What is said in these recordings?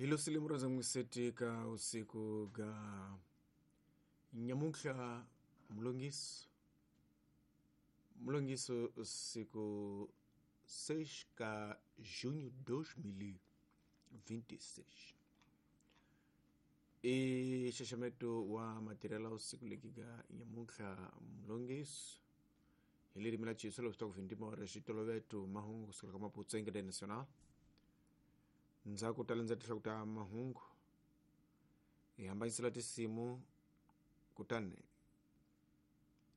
Hilo silimura za n'wiseti ka usiku ga nyamuntlha mulongiso mulongiso siku 6 ka junho 2026 i xaxameto wa matirhelo usiku leki ga nyamuntlha mulongiso hi ririmi la Xitsonga leswi ku vindima ra xitoloveto mahungu kusukela ka Maputo Ingede Nacional. Ndzhaku ta landza tinhloko ta mahungu hi hambanyisela tinsimu, kutani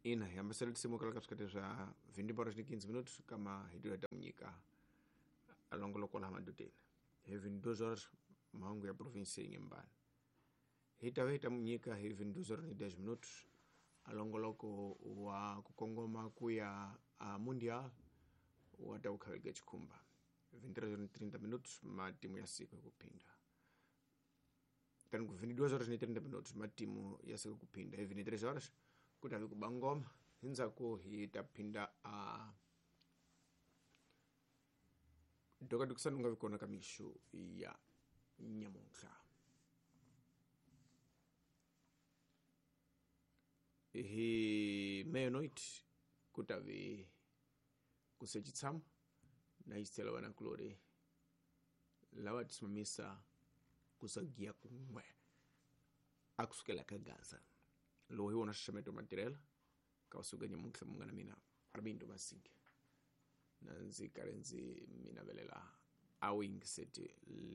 ina hi hambanyisela tinsimu kala ka swikati swa 20 horas ni 15 minutos kama hi ta nyika alongoloko laha madodeni hi 22 horas mahungu ya province ya Inhambane. Hi ta va hi ta nyika hi 22 horas ni 10 minutos alongoloko wa ku kongoma ku ya a mundial wa ta kukhaveka chikhumba 23 horas 30 minutos matimu ya siku hi kuphinda, tani ku 22 horas ni 30 minutos matimu ya siku kuphinda. Hi 23 horas ku ta vi ku ba ngoma, hi ndzhaku hi ta phinda a dokadukisani u nga vi kona ka mixo ya nyamuntlha. Hi meia-noite ku ta vi ku se tshama na yisela vanakulori lava tisimamisa kusagiya kun'we a kusukela ka Gaza. Lowu hi wona xaxameto matirhela ka usiku nyamuntlha. Munghana mina Armindo Masinge na ndzi karhi ndzi mi navelela a wu yingiseti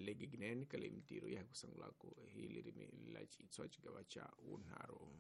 legiginene ka leyi mintirho ya hi ku sungulaku hi ririmi la Xitsonga xigava xa vunharhu.